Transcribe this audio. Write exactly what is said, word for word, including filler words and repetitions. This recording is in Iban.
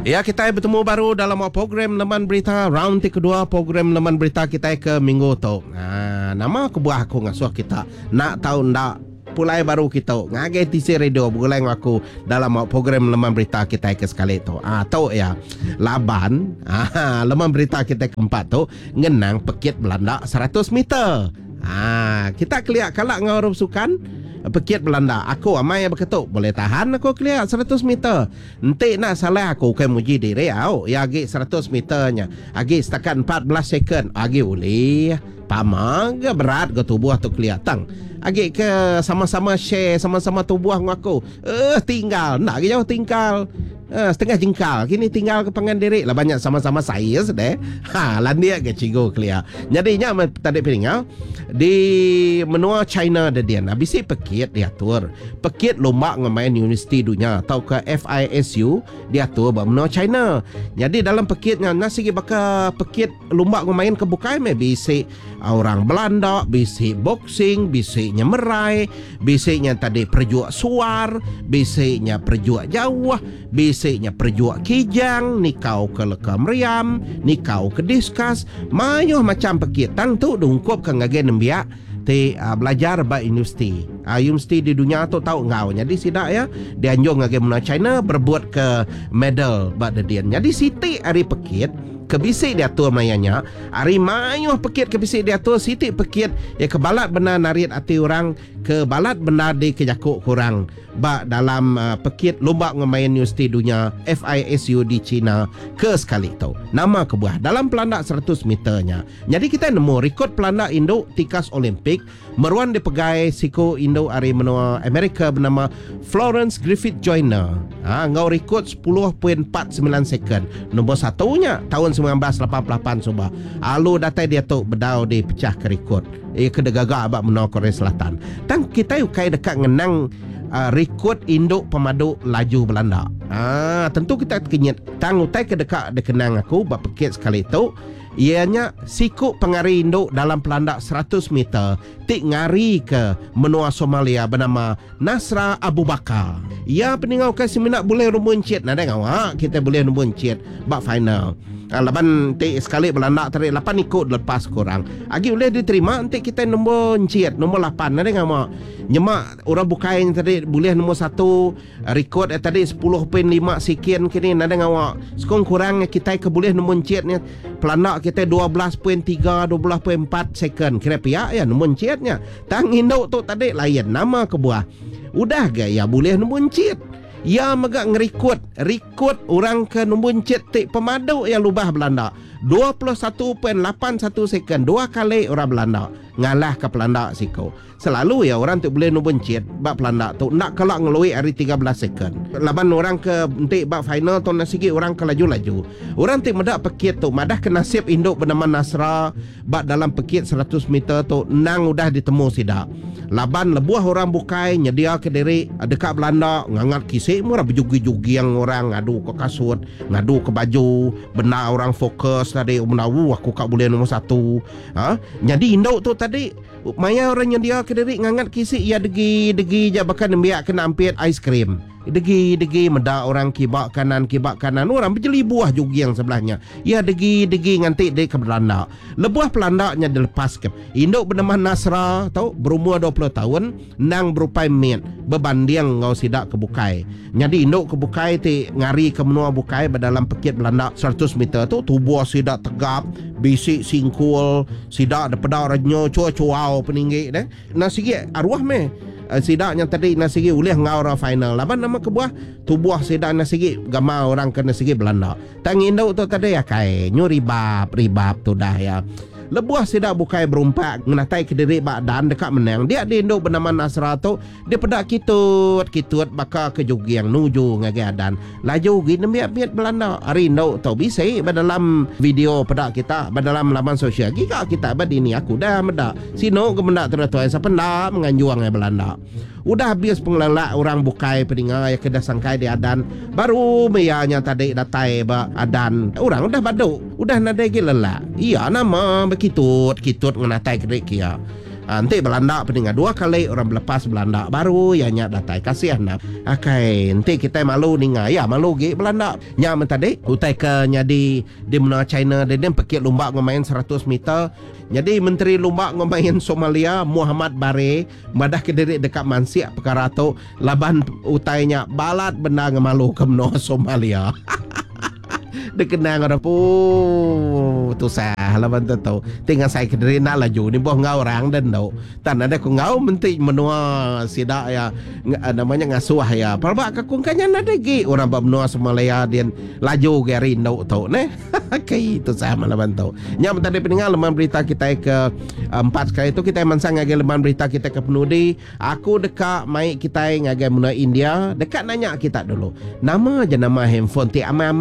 Ya, kita betemu baru dalam program Leman Berita round ti kedua, program Leman Berita kita ke minggu tu. Ha, nama kebuah aku ngasuh kita nak tahu ndak pulai baru kita ngagai T C Radio begulai dengan aku dalam program Leman Berita kita ke sekali tu. Ah, tu ya. Laban, ah, Leman Berita kita keempat tu ngenang pekit Belanda seratus meter. Ah, kita keliak kalak ngau orang sukan pekit Belanda. Aku amai berketuk boleh tahan aku keliak seratus meter. Entik nak salah aku bukan muji diri au. Ya agi seratus meternya. Agi setakat empat belas second. Agi boleh. Pama ke berat ke tubuh tu keliak tang. Agi ke sama-sama share sama-sama tubuh dengan aku. Eh tinggal, nak ke jauh tinggal. Eh, setengah jengkal kini tinggal ke pangan diri lah banyak sama-sama saya sedeh. Ha landia ke cigo kelia. Jadinya tadi piringa di menua China de dia habis pekit diatur. Pekit lomba ngemain universiti dunia atau ke F I S U diatur ba menua China. Jadi dalam pekitnya nasi baka pekit lomba ngemain ke bukai me bisi orang Belanda, bisi boxing, bisi nyemerai, bisinya tadi perjuak suar, bisinya perjuak jauh, bisinya perjuak kijang, nikau ke leka meriam, nikau ke diskas, mayuh macam pekit tang tu dungkup ke ngagai nembiak ti uh, belajar ba universiti. Uh, universiti di dunia tu tahu ngau. Jadi sidak ya dianjung ngagai menua China berbuat ke medal ba dedian. Jadi siti hari pekit kebisi diatur mayanya hari mayuh pekit kebisi diatur siti pekit ya kebalat benar narit ati orang kebalat benar di kejakuk kurang ba dalam uh, pekit lomba ngemain universiti dunia F I S U di China ke sekali tu. Nama kebuah dalam pelandak seratus meternya. Jadi kita nemu rekod pelandak induk tikas Olimpik meruan dipegai siku induk ari menua Amerika bernama Florence Griffith Joyner. Ha ngau rekod sepuluh perpuluhan empat sembilan second. Nombor satunya tahun sembilan belas lapan puluh lapan suba. Alu datai dia tu bedau dipecah ke rekod. Eh kedegagak abak menua Korea Selatan. Tang kita ukai dekat ngenang uh, rekod induk pemadu laju Belanda. Ah tentu kita kenyit tang utai ke dekat dekenang aku bab pekit sekali tu. Ianya siku pengari induk dalam pelandak seratus meter tik ngari ke menua Somalia bernama Nasra Abu Bakar. Ia peningau kasi minat boleh rumbuncit. Nada ngawak kita boleh rumbuncit bab final. Ah, laban tik sekali Belanda tarik lapan ikut lepas kurang. Agi boleh diterima nanti kita nombor encit, nombor lapan. Nada ngawak. Nyemak orang bukai yang tadi boleh nombor satu rekod eh, tadi sepuluh perpuluhan lima sekian kini nada ngawak. Sekong kurang kita ke boleh nombor encit ni. Pelanda kita dua belas perpuluhan tiga, dua belas perpuluhan empat second. Kira pihak ya nombor encitnya. Tang induk tu tadi lain nama kebuah. Udah ga ya boleh nombor encit. Ya megak ngerikut, rikut orang ke nombor encit tik pemadu yang lubah Belanda. dua puluh satu perpuluhan lapan satu second, dua kali orang Belanda ngalah ke Belanda siko. Selalu ya orang tu boleh nombor encit bab Belanda tu nak kelak ngelui hari tiga belas second. Laban orang ke entik bab final tu nak sikit orang ke laju-laju. Orang tik medak pekit tu madah ke nasib induk bernama Nasra bab dalam pekit seratus meter tu nang udah ditemu sidak. Laban lebuah orang bukai nyedia ke diri dekat Belanda ngangat kisik murah berjugi-jugi yang orang ngadu ke kasut, ngadu ke baju, benar orang fokus tadi menawu aku kak boleh nombor satu. Ha? Jadi induk tu tadi maya orang nyedia ke diri ngangat kisik ya degi-degi je bahkan nembiak kena ampit aiskrim. Degi-degi medak orang kibak kanan kibak kanan orang berjeli buah jugi yang sebelahnya. Ya degi-degi ngantik dek ke Belanda. Lebuah pelandaknya dilepas ke. Induk bernama Nasra tau berumur dua puluh tahun nang berupai mit berbanding ngau sidak ke bukai. Jadi induk ke bukai ti ngari ke menua bukai berdalam pekit Belanda seratus meter tu tubuh sidak tegap, bisik singkul, sidak daripada renyo cua-cuau peninggi deh. Nasi arwah meh. Uh, sidaknya tadi nasigi ulih ngau orang final. Laban nama kebuah tubuh sidak nasigi gama orang kena sigi Belanda. Tang induk tu tadi ya kai nyu ribab ribab tu dah ya. Lebuah sidak bukai berumpak ngenatai ke diri badan dekat menang. Dia di induk bernama Nasra tu dia pedak kitut kitut baka ke jogiang nuju ngagai adan. Laju gi nembiak biat Belanda. Hari induk tu bisi dalam video pedak kita dalam laman sosial. Giga kita bad ini aku dah medak. Sino ke mendak terus tuan siapa ndak menganjuang Belanda. Udah habis pengelelak orang bukai peninga yang kena sangkai di adan. Baru meyanya tadi datai ba adan. Orang udah baduk, udah nadai gi lelak. Iya nama bekitut, kitut ngenatai kerik kia. Ha, enti Belanda peninga dua kali orang belepas Belanda baru ya nya datai kasih nak. Akai enti kita malu ninga ya malu gi Belanda. Nya men tadi utai ke nyadi di menua China dia dia pekit lumba ngemain seratus meter. Jadi Menteri Lumba Ngemain Somalia Muhammad Bare madah ke diri dekat mansiak perkara tu laban utainya balat benda ngemalu ke menua Somalia. Dikenang orang pu tusah laban tu tu. Tinggal saya ke diri nak laju ni boh ngau orang dan tu. Tan ada ku ngau menteri menua sida ya namanya ngasuh ya. Palba ka kungkanya ada gi orang ba menua Somalia dia laju ge rindu tu ne. Okey tusah laban tu. Nya tadi pendengar leman berita kita ke empat sekali tu kita mansang ngagai leman berita kita ke penudi. Aku dekat mai kita ngagai menua India dekat nanya kita dulu. Nama je nama handphone ti amai-amai